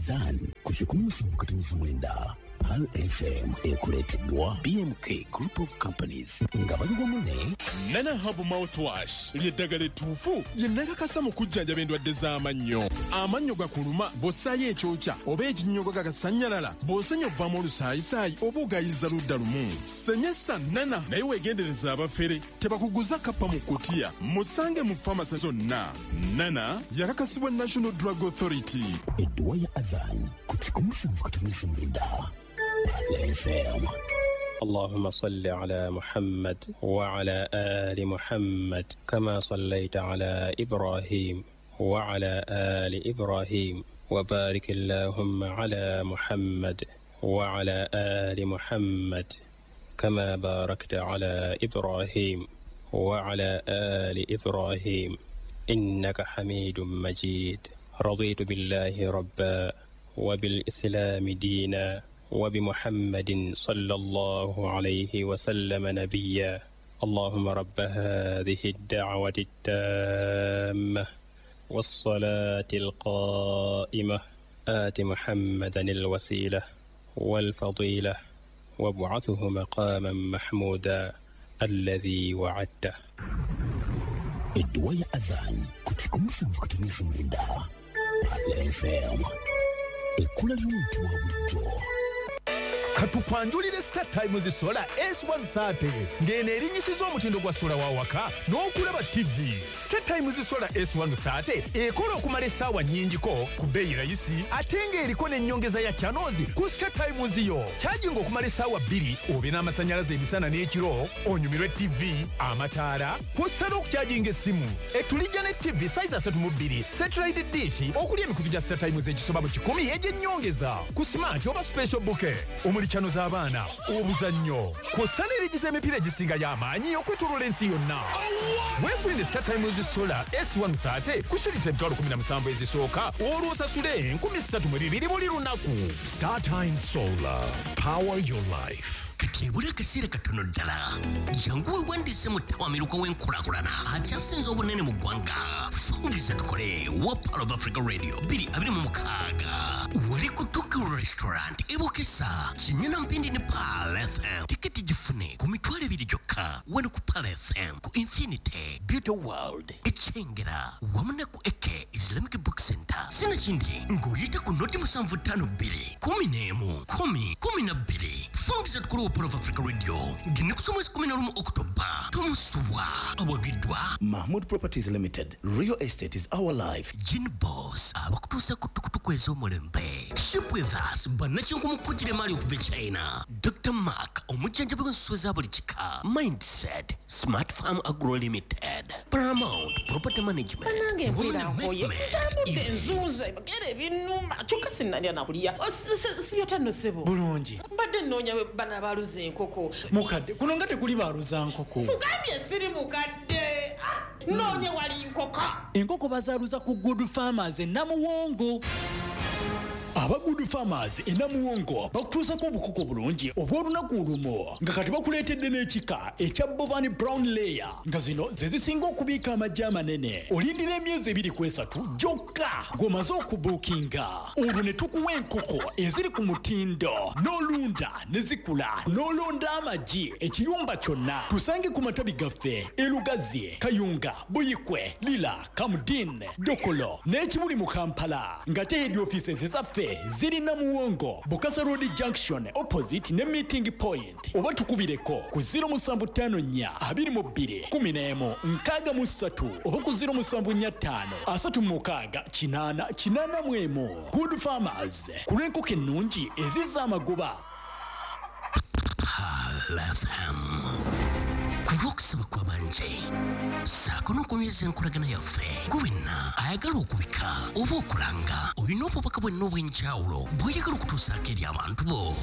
Adhan ku 107.9 Pearl FM ekuleeteddwa BMK Group of Companies nga bali wamu ne Nana Herbal Mouthwash ly'eddagala ettuufu ye nakakasa mu kujjanjaba endwadde z'amannyo. Amannyo gakuluma bw'ossaayo ekyokya oba ekinnyogo gagasannyalala, bw'osenya ovaamu olusaayisaayi oba ogayiza ludda lumu. Senyesa Nana naye weegendereza abafere tebakuguza kappa mu kutiya. Musange mu famasi zonna. Nana yakakasibwa National Drug Authority. Edduwa ya Adhan ku 107.9 Pearl FM. اللهم صل على محمد وعلى آل محمد كما صليت على إبراهيم وعلى آل إبراهيم وبارك اللهم على محمد وعلى آل محمد كما باركت على إبراهيم وعلى آل إبراهيم إنك حميد مجيد. رضيت بالله ربا وبالإسلام دينا وبمحمد صلى الله عليه وسلم نبيا. اللهم رب هذه الدعوة التامة والصلاة القائمة آت محمدا الوسيلة والفضيلة وابعثه مقاما محمودا الذي وعدته. Edduwa ya Adhan ku 107.9 Pearl FM. Ekkula ly'omuntu wa bulijjo. Katukwanjulire Star Times Solar S130 ng'eno erinyisiza omutindo gwa sola wa waka n'okulaba TV. Star Times Solar S130 ekola okumala essaawa nnyingiko ku bbeeyi rayisi ate ng'eriko n'ennyongeza ya channels ku Star Times yo. Kyajinga okumala essaawa 2 obe n'amasannyalaze emisana n'ekiro, onyumirwe TV, amataala, kw'ossa n'okukyajinga essimu. Etulijja ne TV size 32, satellite dish okuli emikutu gya Star Times egisoba mu 100 egy'ennyongeza ku smart oba special bouquet omuli channel z'abaana, obuzannyo, kw'ossa n'erigiza emipiira egisinga y'amaanyi okwetooloola ensi yonna. Weefunire Star Times Solar S130 ku shilingi 17,000 ezisooka olwo osasule 3,200 buli lunaku. Star Times Solar. Power your life. Kati ebula akaseera katono ddala, jangu weewandiise mu ttawamiruka w'enkulaakulana akyasinze obunene mu ggwanga. Fungiza tukole wa Pearl of Africa Radio 2026 wali ku Tokyo Restaurant e Bukesa Kinyana Mpindi ne Pearl FM. Tiketi gifune ku 20,000 gyokka wano ku Pearl FM, ku Infinity Beauty World Ekyengera wamu ne ku Eke Islamic Book Center. Sinakindi ng'oyita ku noti 752 11 10 12. Fungiza tukole wa Pearl of Africa Radio ng'ennaku z'omwezi 11 Oktoba. Tomusubwa awagiddwa Mahmood Properties Limited. Real estate is our life. Gin Boss abakutuusa ku tukutuku ez'omulembe. Ship with us bannakinku mu kugira emaali okuva e China. Dr. Mark omujjanjabi w'ensolo za buli kika. Mindset Smart Farm Agro Limited, Paramount Property Management. Nange Women mpulira nkoye, Movement, ntambudde Events. nzuuza ebigere ebinnuma kyokka sinnalya nakulya. Sibyota nno ssebo. Bulungi. Mbadde nnoonya bano abaaluza enkoko. Mukadde, kuno nga tekuli baaluza nkoko. Mugambye siri mukadde. Ah, nnoonye wali nkoko. Enkoko bazaaluza ku Good Farmers e Namuwongo. Aba Good Farmers e Namuwongo bakutuusako obukoko bulungi obw'olunaku olumu nga kati bakuleetedde n'ekika ekya Bovani Brown Layer nga zino ze zisinga okubiika amagi amanene. Olindira emyezi 2 ku 3 gyokka ng'omaze okubuukinga, olwo ne tukuwa enkoko eziri ku mutindo n'olunda ne zikula n'olonda amagi ekiyumba kyonna. Tusange ku matabi gaffe e Lugazi, Kayunga, Buyikwe, Lira, Kamudin, Dokolo n'Ekibuli mu Kampala, ng'ate head offices zaffe ziri Namuwongo, Bukasa Road Junction opposite ne Meeting Point, oba tukubireko ku 0754 22 11 63 oba ku 0745 36 8 81. Good Farmers ku lw'enkoko ennungi ezizza amagoba. Pearl FM ku lw'okusaba kw'abanje ssaako n'okunyweza enkolagana yaffe. Gwe wenna ayagala okubika oba okulanga, olina obubaka bwenna obw'enjawulo bw'oyagala okutuusaako eri abantu bo.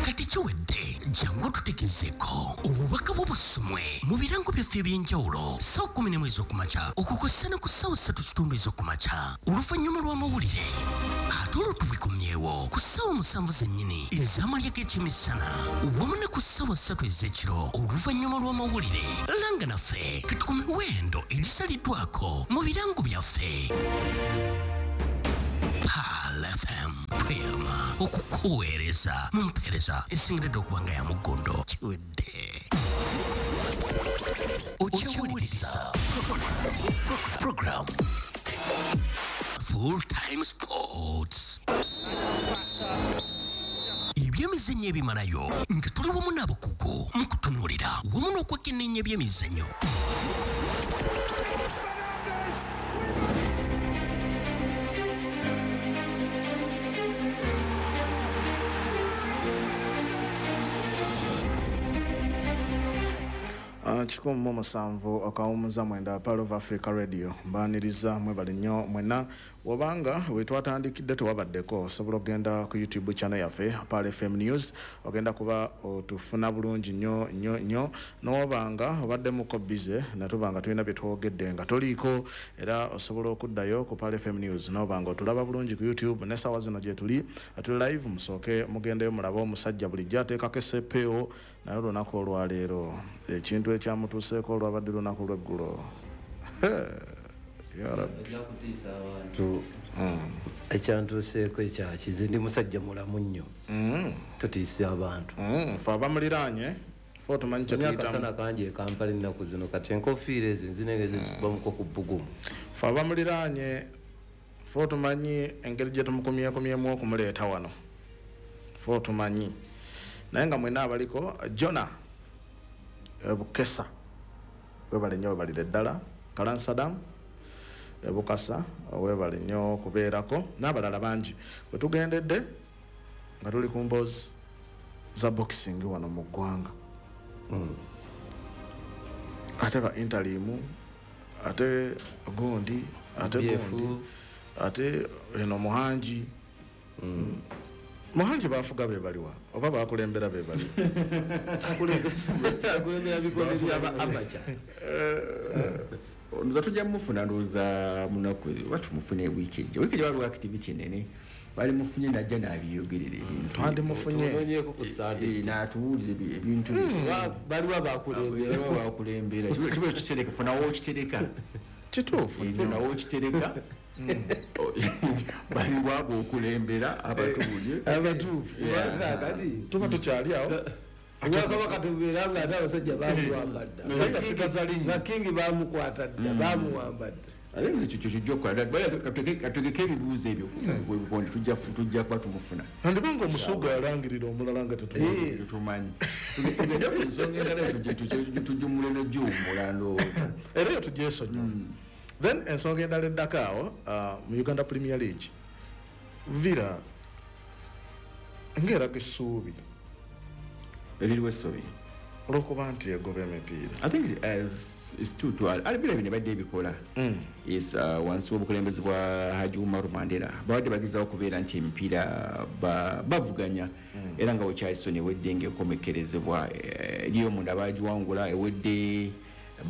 Kati kiwedde, jangu otutegezeeko obubaka bwo busomwe mu birango byaffe eby'enjawulo ssaawa 11 ez'okumakya okukosa ne ku ssaawa 3:15 ez'okumakya oluvannyuma lw'amawulire, ate olwo tubikomyewo ku ssaawa 7 zennyini ez'amalya g'ekyemisana wamu ne ku ssaawa 3 ez'ekiro oluvannyuma lw'amawulire. Langa naffe kati ku miwendo egisaliddwako mu birango byaffe. Pearl Okukuweereza mu mpeereza esingiridde okuba nga ya muggondo. Kiwedde. Okyawuliriza program Full Time Sports. Ebyemizannyo ebimalayo nga tuli wamu n'abakugu mu kutunuulira wamu n'okwekenneenya ebyemizannyo. 17.79 Pearl of Africa Radio mbaniriza mwebale nnyo mwenna. Wabanga wetwatandikidde tewabaddeko, osobola okugenda ku YouTube channel yaffe Pearl FM News, ogenda kuba otufuna bulungi nnyo nnyo nnyo. N'obanga obaddemuko busy natubanga tulina bye twogedde nga toliiko, era osobola okuddayo ku Pearl FM News n'obanga otulaba bulungi ku YouTube. N'essaawa zino gye tuli tuli live, musooke mugendeyo mulabe omusajja bulijjo ateekako essepeewo, naye olunaku olwaleero ekintu ekyamutuuseeko olwabadde lunaku lw'eggulo. Ya Rabbi. Kutiisa abantu. Ekyantuuseeko ekyakize, ndi musajja mulamu nnyo. Tutiisa abantu. Fe abamuliraanye fe otumanyi kye tuyitamu. Akasana kangi e Kampala ennaku zino, kati enkofiira ezo enzinenge zezikubamuko ku bbugumu. Fe abamuliraanye fe otumanyi engeri gye tumukumyekumyemu okumuleeta wano, fe otumanyi. Naye nga mwenna abaliko, Jona Bukesa webale nnyo, webalire ddala. Kalan Saddam Bukasa webale nnyo okubeerako, n'abalala bangi. Bwe tugendedde nga tuli ku mboozi za boxing wano mu ggwanga, ate ba interim, ate gundi, ate gundi, ate eno Muhangi. Muhangi bafuga be baliwa oba bakulembera be bali? Akulembera bikonde byaba amacha. Nza tujja mufuna ndowooza munaku oba tumufune wiiki ejja. Wiiki ejja waliwo activity ennene, bali mufunye najja n'abiyogerera ebintu. Twandimufunye. Tunoonyeeko ku Sunday. N'atuwulira ebintu. Baliwo abakulembera. Baliwo abakulembera. Kiba kitereka, funawo okitereka. Kituufu nnyo. Funawo okitereka. Baliwo abokulembera abatuulye. Abatuufu. Kati tuba tukyali awo. Obwakabaka tubeera nga ate abasajja bamuwamba dda. Naye yasigaza linnya. Bakingi bamukwata dda, bamuwamba dda. Ate ekyo kijja okukola. Kategeke ebibuuzo ebyo ebikonde tujja kuba tumufuna. Andibanga omusuuga yalangirira omulala nga tetumanyi. Tetumanyi. Tugende ku nsonga endala tujjumule n'ejjuwummula ndowooza. Era eyo tugyesonyiwe. Then ensonga endala eddako awo, mu Uganda Premier League, Villa ng'eraga essuubi eririwo essuubi olw'okuba nti egoba emipiira. I think it's too early. Villa bino ebadde ebikola is wansi w'obukulembeze bwa Haji Umaru Mandela, babadde bagezaako okubeera nti emipiira bavuganya, era nga wekyalisoni ewedde ng'ekomekkerezebwa eriyo omunda bagiwangula ewedde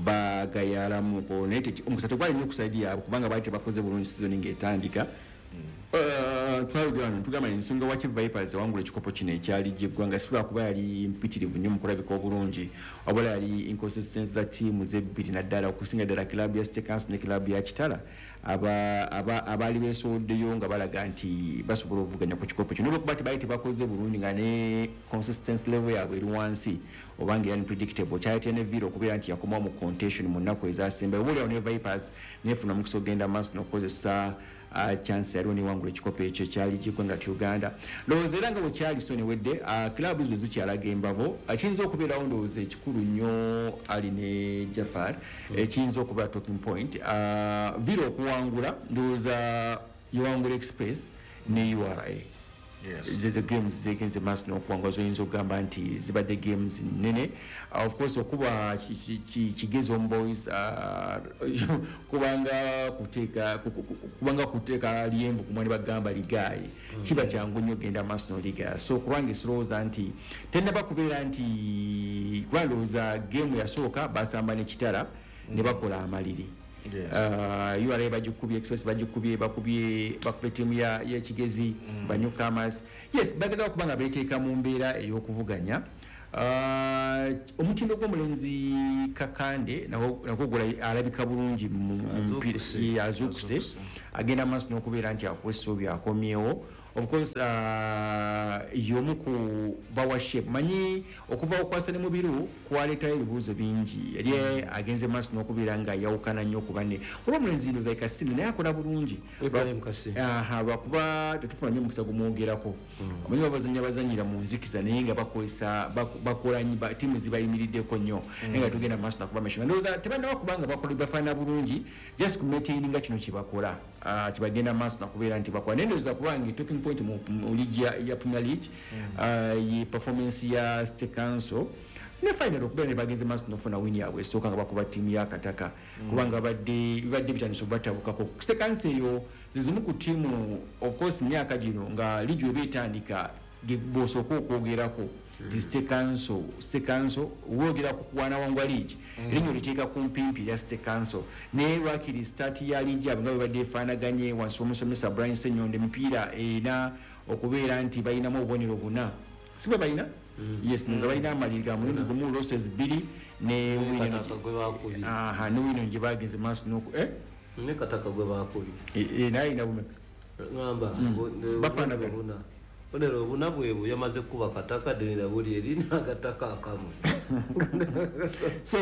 bagayalamuko, naye omukisa tegwali nnyo ku side yaabwe kubanga baali tebakoze bulungi sizoni ng'etandika. Twayogera wano tugamba ensonga waki Vipers ewangula ekikopo kino ekyali gy'eggwanga si lwakuba yali mpitirivu nnyo mu kulabika obulungi, wabula yali inconsistency za ttiimu zebbiri, naddala okusinga ddala club ya City Council ne club ya Kitala abaali beesowoddeyo nga balaga nti basobola okuvuganya ku kikopo kino, olwokuba tebaali tebakoze bulungi nga ne consistency level yaabwe eri wansi oba nga unpredictable. Kyaleetera ne Villa okubeera nti yakomawo mu contention mu nnaku ezasembayo, oba oliawo ne Vipers nefuna omukisa ogenda maaso n'okukozesa chance yaliwo newangula ekikopo ekyo ekyali gy'eggwanga ti Uganda. Ndowooza era nga bwe kyali so newedde, club zo zikyalaga embavo. Kiyinza okubeerawo ndowooza ekikulu nnyo Ali ne Jafar, ekiyinza okubeera talking point, Villa okuwangula ndowooza yewangula Express ne URA. Zezo games zegenze maaso n'okuwangula zoyinza okugamba nti zibadde games nnene. Of course okuba Kigezi Homeboys kubanga kuteeka lyenvu ku mwani bagamba ligaayi, kiba kyangu nnyo ogenda maaso n'oligaya. So kubanga esirowooza nti tennaba kubeera nti kuba ndowooza game yasooka basamba ne Kitara ne bakola amaliri. URA bagikubye, Express bagikubye, bakubye ttiimu y'Ekigezi, ba newcomers. Yes, bagezaako okuba nga beeteeka mu mbeera ey'okuvuganya. Omutindo gw'omulenzi Kakande nagwo alabika bulungi mu mupiira, azuukuse, agenda maaso n'okubeera nti akuwa essuubi akomyewo. Of course, y'omu ku bawa shape manyi okuva okwasa ne Mubiru kwaleetayo ebibuuzo bingi. Yali agenze maaso n'okubeera nga yawukana nnyo ku banne. Olw'omulenzi ino like Kassim, naye akola bulungi. Ibrahim Kassim. Aha, lwakuba tetufuna nnyo omukisa gumwogerako. Omanyi babazannya bazannyira mu nzikiza, naye nga bakozesa bakola ttiimu zibayimiriddeko nnyo, naye nga tugenda maaso nakuba meshinga. Ndowooza tebannaba kubanga bakola bafaanana bulungi, just ku maintaininga kino kyebakola, kibagenda maaso nakubeera nti bakola. Naye ndowooza kubanga talking point mu league ya Premier League, ye performance ya City Council ne final, okubeera ne bagenze maaso nofuna win yaabwe esooka nga bakuba ttiimu ya Kataka, kubanga bibadde bitandise obatabukako. City Council eyo zezimu ku ttiimu, of course, myaka gino nga liigi eba etandika bw'osooka okwogerako ti City Council. City Council wogera ku kuwanawangwa liigi, erinnya oliteeka ku mpimpi erya City Council. Naye lwakiri start ya liigi yaabwe nga bwebadde efaanaganye wansi w'omusomesa Brian Ssenyondo, emipiira ena okubeera nti balinamu obubonero buna, si bwe balina? Yes, nza balina amaliri ga mulundi gumu, losses 2 ne win eno. Kataka gwe bakubye. Aha, ne win eno gye bagenze maaso n'oku Ne Kataka gwe bakubye. Naye alina bumeka? Ngamba Bafaanagana. buna bonero buna bwebwo, yamaze kuba Kataka denera buli eri n'agataka akamu. So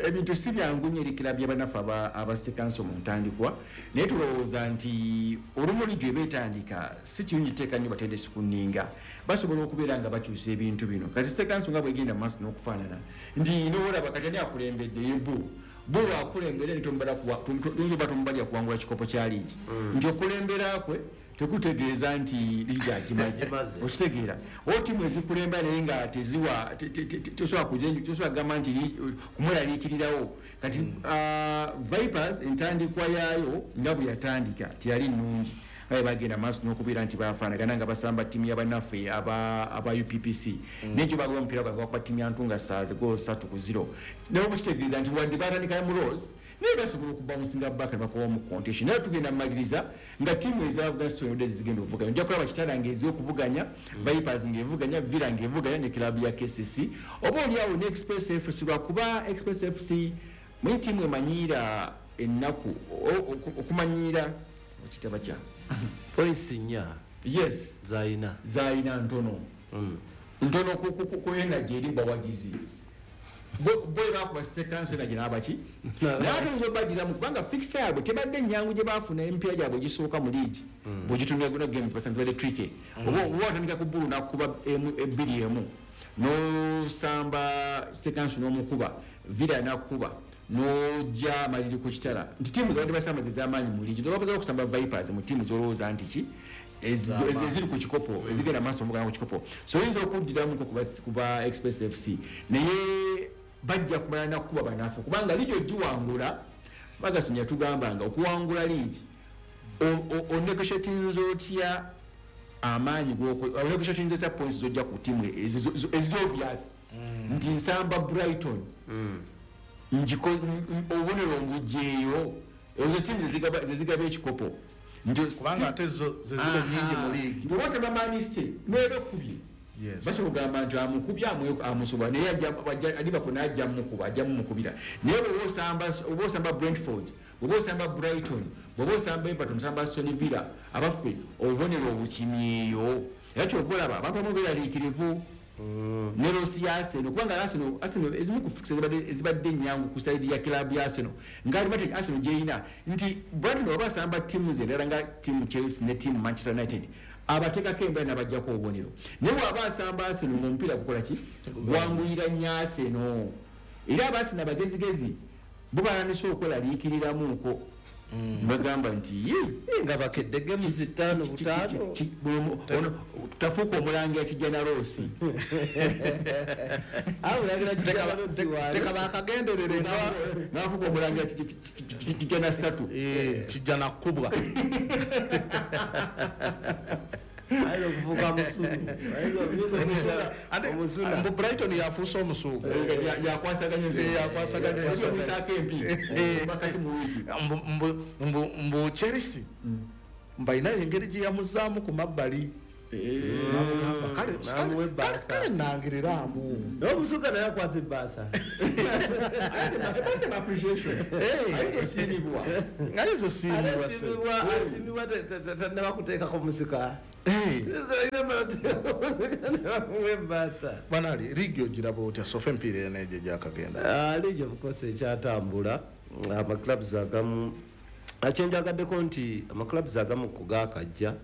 ebintu si byangu nnyo eri kilabu y'abanafu aba City Council mu ntandikwa, naye tulowooza nti olumu liigi eba etandika si kirungi teeka nnyo batendesi ku nninga, basobola okubeera nga bakyusa ebintu bino. Kati City Council nga bwegenda mu maaso n'okufaanana nti noolaba kati ani akulembedde, yebu bo lwakulembera tuyinza oba tomubalya kuwangula kikopo kya liigi, nti okulembera kwe tekutegeeza nti liigi agimaze. Agimaze. Okitegeera, o ttiimu ezikulembera naye nga teziwa tosobola kugamba nti kumweraliikirirawo. Kati Vipers entandikwa yaayo nga bwe yatandika teyali nnungi, aye bagenda maaso n'okubeera nti bafaanagana nga basamba ttiimu y'abannaffe aba UPPC, naye gyo bagaba omupiira gwange bakuba ttiimu ya Ntunga Saaze golo 3-0. Naye bwekitegeeza nti wadde batandika mu loss, naye basobola okubouncing back ne bakowa mu competition. Naye tugenda mumaliriza nga ttiimu ezavuga sitolodde zigenda okuvuganya, ojja kulaba Kitala ng'ezi okuvuganya, Vipers ng'evuganya, Villa ng'evuganya ne kilabu ya KCC, oba oliawo ne Express FC, lwakuba Express FC mwe ttiimu emanyiira ennaku okumanyiira okitaba kya Points 4. Yes. Zayina. Zayina ntono ntono ku energy eri bawagizi bo bakuba sekanso energy n'abaki, naye ate oyinza obaddiramu kubanga fixture yaabwe tebadde ennyangu gye baafuna. Emipiira gyabwe egisooka mu liigi bw'ogitunula guno games basanze badde tricky. Oba watandika ku bbulu nakuba emu 2-1, n'osamba sekanso n'omukuba, Villa nakuba, n'ojja amaliri ku Kitala, nti ttiimu zabadde basamba ze z'amaanyi mu liigi. Tobabuzaako okusamba Vipers mu ttiimu z'olowooza nti ki eziri ku kikopo, ezigenda maaso omugana ku kikopo. So oyinza okuddiramuko kuba Express FC, naye bajja kumala nakukuba banafu, kubanga liigi ogiwangula, Ferguson yatugambanga okuwangula liigi onegotiatinza otya amaanyi, onegotiatinza otya points zojja ku ttiimu eziri obvious nti nsamba Brighton, obubonero mbugyeyo, ezo ttiimu zezigaba ekikopo. Kubanga ate zo ze ziba nnyingi mu liigi. Nti oba osamba Man City neeba ekkubye, basobola okugamba nti amukubye amusobola, naye Liverpool naye ajja mumukuba, ajja mumukubira. Naye bw'oba osamba Brentford, bw'oba osamba Brighton, bw'oba osamba Everton, osamba Aston Villa, abaffe obubonero obukimyeyo. Era kyova olaba abantu abamu beeraliikirivu ne loss ya Arsenal, kubanga Arsenal ezimu ku fixtures ezibadde ennyangu ku side ya club ya Arsenal, nga advantage Arsenal gy'erina nti Brighton bw'aba asamba ttiimu ze endala nga ttiimu Chelsea ne ttiimu Manchester United, abateekako embeera n'abaggyako obubonero. Naye bw'aba asamba Arsenal ng'omupiira gukola ki, gwanguyira nnyo Arsenal. Era abaasina abagezigezi bo balandise okweraliikiriramuuko, bagamba nti ye nga bakedde games 5 5. Tafuuka omulangira kijja na loss. Teka bakagenderere nga nafuuka omulangira kijja na 3. Kijja na kkubwa. Ayinza okufuuka musulu. Ate, Omusuna. mbu Brighton yafuuse omusuuga. Yakwasaganya Yakwasaganya. Omusaako empi bakati mu wiiki. Mbu Chelsea mbalina engeri gye yamuzaamu ku mabbali, namugamba kale, Namuwa ebbaasa. kale nangiriramu. Naye omusuuga naye akwata ebbaasa. Ebbaasa eba appreciation. Ayinza osiimibwa. Ayinza osiimibwa, Ate asiimibwa tannaba kuteekako musika. Banali ligi ogiraba otya sofa empiira eno egyo gyakagenda? Ligi of course ekyatambula, amaclubs agamu akyenjagaddeko nti amaclubs agamu kugakajja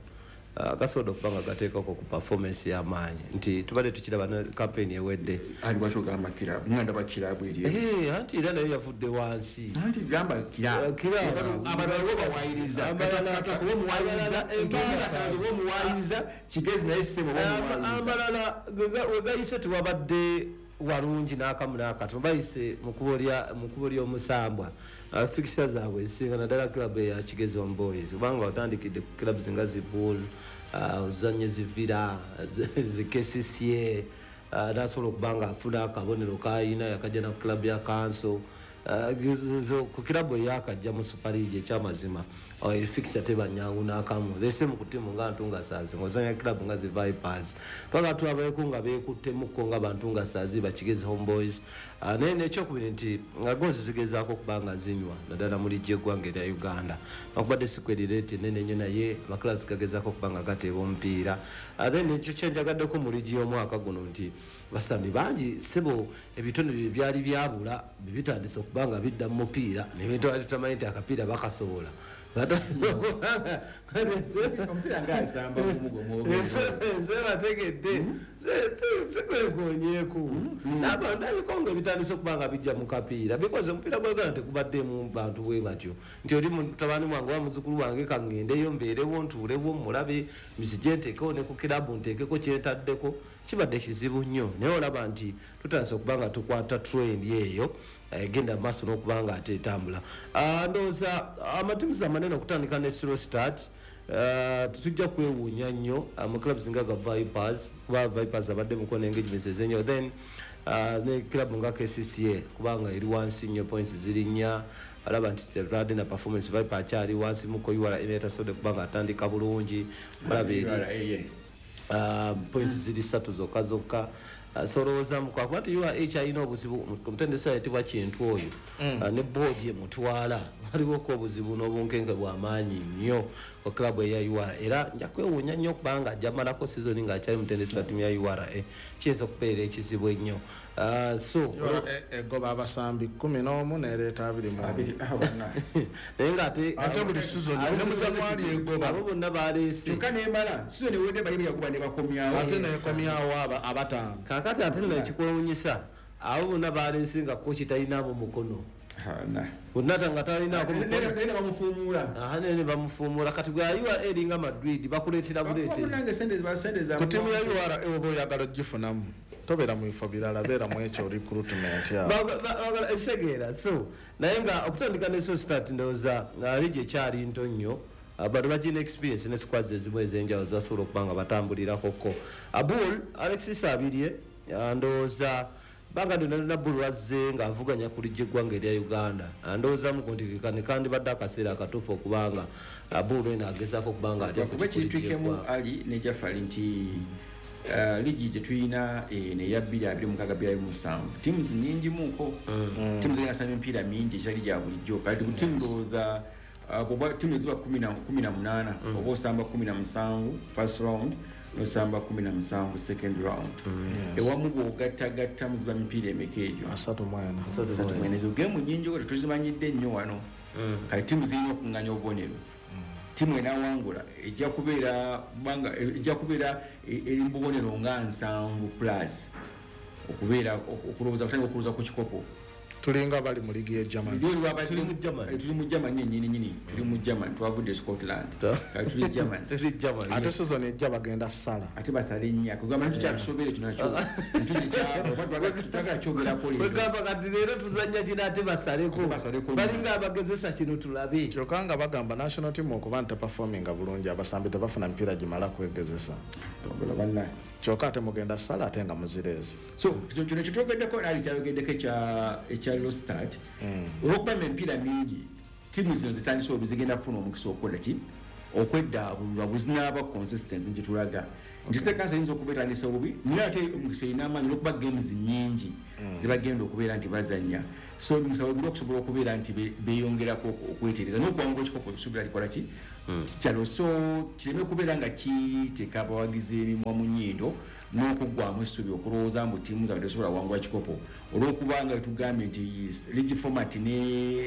gasobola okuba nga gateekako ku performance y'amaanyi, nti tubadde tukiraba ne campaign ewedde. Ali lwaki ogamba kirabu? Nga ndaba kirabu eri. Anti era nayo yavudde wansi. Anti gamba kirabu, abalala bo bawayiriza, Kataka bo muwayiriza, Ntungasanze bo muwayiriza, Kigezi naye ssebo bo muwayiriza. Amalala wegayise tewabadde walungi n'akamu n'akatono, bayise mu kkubo ly'omusambwa. Fixture zaabwe ezisinga naddala club eya Kigezi Home Boys, kubanga otandikidde ku clubs nga Zibul, ozanye Zivira, zikesisie, nasobola okuba nga afuna akabonero kayina yakajja na club ya Kanso. Ku club eyakajja mu Super League ekyamazima fixture teba nyangu n'akamu. The same ku ttiimu nga Ntungasazi, ng'ozanya club nga zi Vipers, twagala tulabayeko nga beekuttemuko nga Bantungasazi ba Kigezi Home Boys. Naye n'ekyokubiri nti nga goals zigezaako okuba nga zinywa naddala mu ligi y'eggwanga erya Uganda, nakubadde sikwerireti ennene nnyo, naye amaclubs gagezaako okuba nga gateeba omupiira. Then ekyo kyenjagaddeko mu ligi y'omwaka guno nti basambi bangi sebo ebitone bye byali byabula bitandise okuba nga bidda mu mupiira, nebintu tutamanyi nti akapiira bakasobola. Omupiira ng'asamba gumugo mwogere. Nze bategedde sikwekonyeeko ndabiko nga ebitandise okuba nga bijja mu kapiira, because omupiira gwa Uganda tegubaddemu bantu bwe batyo nti oli mutabani wange oba muzzukulu wange kaŋŋendeyo mbeerewo ntuulewo mulabe nzije nteekewo ne ku kirabu nteekeko kyentaddeko, kibadde kizibu nnyo. Naye olaba nti tutandise okuba nga tukwata trend eyo egenda mu maaso n'okuba nga ate etambula. Ndowooza amatiimu amanene okutandika ne slow start, tetujja kwewuunya nnyo mu clubs nga ga Vipers, kuba Vipers abadde muko ne engagements ez'enjawulo, then ne club nga KCCA kubanga eri wansi nnyo, points ziri nnya, alaba nti tebadde na performance. Viper akyali wansi muko, URA etasobodde kuba nga atandika bulungi, olaba eri points ziri ssatu zokka zokka. So olowooza kuba nti URA ekyalina obuzibu, omutendesi ayitibwa Kintu oyo ne boodi emutwala, waliwoko obuzibu n'obunkenke bw'amaanyi nnyo ku club eya URA, era nja kwewuunya nnyo kubanga ajja malako season ng'akyali mutendesi wa ttiimu ya URA, kiyinza okubeera ekizibu ennyo. So egoba abasambi 11 n'ereeta 21. Naye ng'ate ate buli season ne mu January egoba abo bonna baleese, kyokka n'emala season ewedde bali yakuba ne bakomyawo, ate nekomyawo abataano. Kaakati ate nno ekikwewuunyisa abo bonna baleese nga kochi talinaabo mukono bonna nga talinaako mukono, bamufuumuula. Nene bamufuumuula. Kati gwe URA eringa Madrid, bakuleetera buleetezi ku ttiimu ya URA. Oba oyagala ogifunamu tobeera mu bifo birala, beera mu ekyo recruitment yawo ekitegeera. So naye nga okutandika ne slow start, ndowooza ligi ekyali nto nnyo, bano bagirina experience ne squads ezimu ez'enjawulo zasobola okuba nga batambulirako. Abul Alexis Abirye, ndowooza banga ndina Bul azze ng'avuganya ku ligi eggwanga erya Uganda, ndowoozamuko nti kano kandibadde akaseera akatuufu okubanga Abul eno agezaako okuba nga atya. Kuba kiritwikemu Ali ne Jafari nti ligi gye tulina eno eya 2026 27 ttiimu nnyingimuko, ttiimu zigenda samba emipiira mingi ekitali gya bulijjo. Kati ku ttiimu ndowooza bw'oba ttiimu eziba 18, oba osamba 17 first round, nosamba 17 second round, ewamu bw'ogattagattamu ziba mipiira emeka egyo? 34. Ezo geemu nnyingi ko tetuzimanyidde nnyo wano. Kati ttiimu zirina okuŋŋanya obubonero, ttiimu enaawangula ejja kubeera kubanga ejja kubeera eri mu bubonero nga 70 plus okubeera okulowooza kutandika okulowooza ku kikopo. Tulinga bali mu ligi ya Germany. Tuli mu Germany, tuli mu Germany nnyini nnyini, tuli mu Germany, twavudde Scotland, kati tuli Germany. Tuli Germany. Ate season ejja bagenda sala, ate basale nnya kugamba nti tukyakisobere kino nakyo tutagala kyogerako leero. Wegamba kati leero tuzannya kino ate basaleko, balinga abagezesa kino tulabe. Kyokka nga bagamba national team okuba nti teperforminga bulungi, abasambi tebafuna mipiira gimala kwegezesa, kyokka ate mugenda sala ate nga muzireezi. So kino kyetwogeddeko nali kyayogeddeko ekya low start, olw'okuba emipiira mingi, ttiimu zino zitandise obi zigenda kufuna omukisa okukola ki? Okweddaabululwa bwezinaaba consistency gyetulaga nti City Council eyinza okuba etandisa obubi, naye ate omukisa erina amaanyi olwokuba games nyingi zebagenda okubeera nti bazanya. So omukisa weguli okusobola okubeera nti beyongerako okwetereza n'okuwangula ekikopo. Ekisuubira likola ki kyalo, so kireme kubeera nga kiteeka abawagizi emimwa mu nnyindo n'okuggwamu essubi, okulowooza mbu ttiimu zaabwe tesobola kuwangula kikopo, olwokubanga tugambye nti league format ne